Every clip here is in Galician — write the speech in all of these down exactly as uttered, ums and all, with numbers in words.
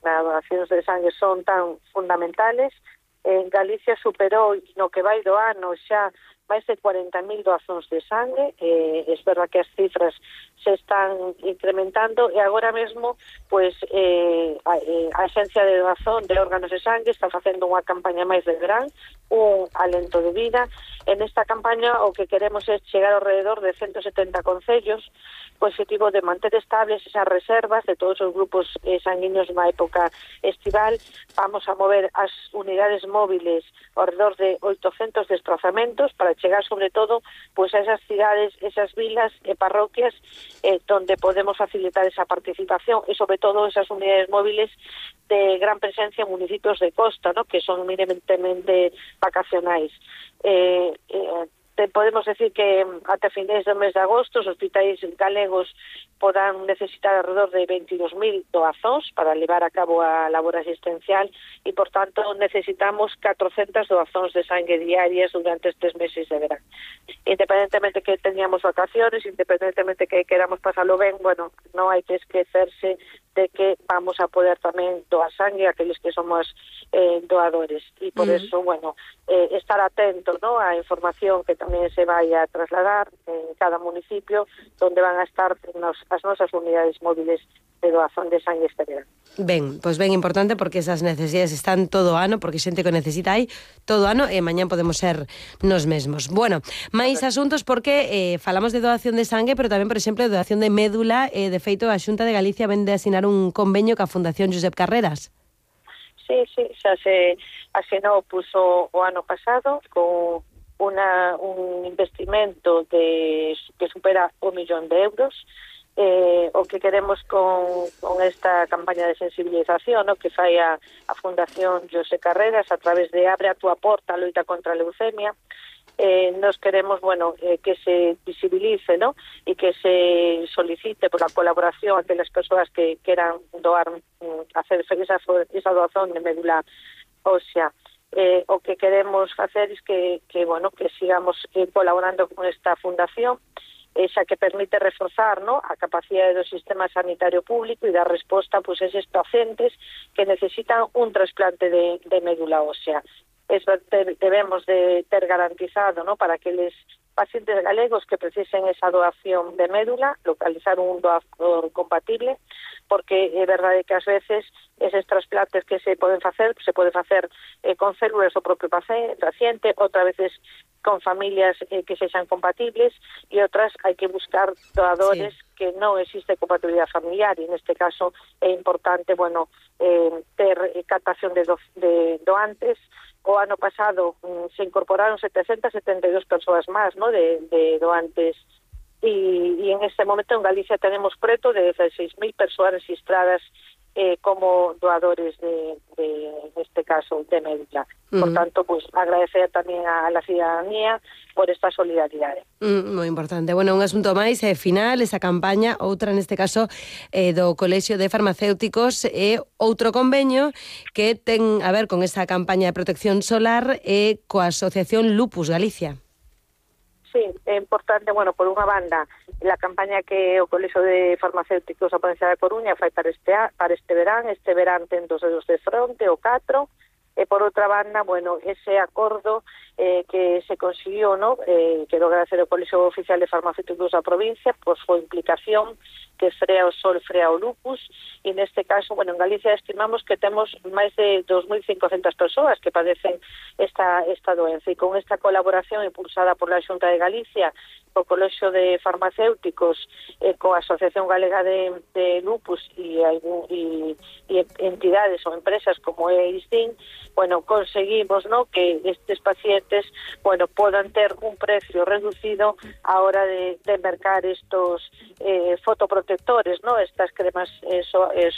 nas donacións de sangue son tan fundamentales. En Galicia superou no que vai do ano xa máis de cuarenta mil doazóns de sangue. Eh, é verdad que as cifras se están incrementando e agora mesmo pois eh, a, eh, a Axencia de Doazón de Órganos de Sangue está facendo unha campaña máis de verán, un alento de vida. En esta campaña o que queremos é chegar ao redor de ciento setenta concellos co objetivo de manter estables esas reservas de todos os grupos eh, sanguíneos na época estival. Vamos a mover as unidades móviles ao redor de oitocentos desplazamentos para chegar sobre todo pois a esas cidades, esas vilas e parroquias eh, donde podemos facilitar esa participación e sobre todo esas unidades móviles de gran presencia en municipios de costa, ¿no?, que son eminentemente vacacionais. Eh, eh, te podemos decir que ata finais do mes de agosto os hospitais galegos podan necesitar alrededor de veintidós mil doazóns para levar a cabo a labor asistencial e, por tanto, necesitamos catrocentas doazóns de sangue diarias durante estes meses de verán. Independentemente que teñamos vacaciones, independentemente que queramos pasarlo ben, bueno, non hai que esquecerse de que vamos a poder tamén doar sangue a aqueles que somos eh, doadores. E por uh-huh. eso, bueno, eh, estar atento, ¿no?, a información que tamén se vai a trasladar en cada municipio donde van a estar nos, as nosas unidades móviles de doazón de sangue este verán. Ben, pois ben importante porque esas necesidades están todo ano, porque xente que necesita aí todo ano e mañán podemos ser nos mesmos. Bueno, máis asuntos porque eh, falamos de doación de sangue, pero tamén, por exemplo, de doación de médula. Eh, de feito, a Xunta de Galicia vende a asinar un convenio ca Fundación Josep Carreras. Sí, sí, xa se asinou puso o ano pasado con una, un investimento de que supera un millón de euros. Eh, o que queremos con, con esta campaña de sensibilización, ¿no?, que fai a, a Fundación José Carreras a través de Abre a túa porta, a loita contra a leucemia. Eh, nos queremos, bueno, eh, que se visibilice, ¿no?, e que se solicite por la colaboración de las persoas que queran doar, hacer esa, esa doazón de médula ósea. Eh, o que queremos facer es que, que bueno, que sigamos eh, colaborando con esta fundación, esa que permite reforzar, ¿no?, a capacidade do sistema sanitario público e dar resposta pues, a esos pacientes que necesitan un trasplante de, de médula ósea. Es, debemos de ter garantizado, ¿no?, para aqueles pacientes galegos que precisen esa doación de médula, localizar un doador compatible, porque é verdade que ás veces eses trasplantes que se poden facer, se pode facer eh, con células do propio paciente, outras veces con familias eh, que sexan compatibles e outras hai que buscar doadores sí. que non existe compatibilidade familiar e neste caso é importante, bueno, eh, ter captación de, do, de doantes. O ano pasado um, se incorporaron setecientas setenta e dúas persoas máis, ¿no?, de, de doantes e, e en este momento en Galicia tenemos preto de dieciséis mil persoas registradas eh, como doadores de, de, neste caso, de médula. Uh-huh. Por tanto, pues, agradecer tamén a la ciudadanía por esta solidaridade. Mm, moi importante. Bueno, un asunto máis, é eh, final, esa campaña, outra neste caso eh, do Colexio de Farmacéuticos e outro convenio que ten a ver con esa campaña de protección solar e eh, coa Asociación Lupus Galicia. Sí, é importante, bueno, por unha banda, la campaña que o Colexio de Farmacéuticos da Provincia da Coruña fai para este, para este verán, este verán ten dos dedos de fronte, o catro, e por outra banda, bueno, ese acordo eh, que se consiguió, ¿no?, eh, quero agradecer ao Colexio Oficial de Farmacéuticos da provincia por súa implicación, que frea o sol, frea o lupus, e neste caso, bueno, en Galicia estimamos que temos máis de dos mil cincocentas persoas que padecen esta, esta doenza, e con esta colaboración impulsada por la Xunta de Galicia, o Colexio de Farmacéuticos, eh, coa Asociación Galega de, de Lupus e, e, e entidades ou empresas como é I S D I N, bueno, conseguimos, ¿no?, que estes pacientes, bueno, podan ter un precio reducido a hora de, de mercar estos eh, fotoprotectores, ¿no?, estas cremas eh, so, eh,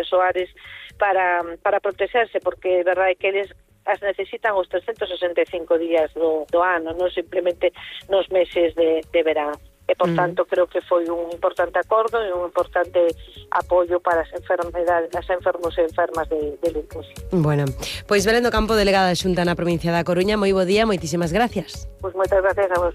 soares para, para protegerse, porque é verdade que eles as necesitan os trescentos sesenta e cinco días do, do ano, non simplemente nos meses de, de verán. E, por tanto, creo que foi un importante acordo e un importante apoio para as enfermedades, as enfermos e enfermas de, de lupus. Bueno, pois Belén do Campo, delegada da Xunta na provincia da Coruña, moi bo día, moitísimas gracias. Pois moitas gracias a vos.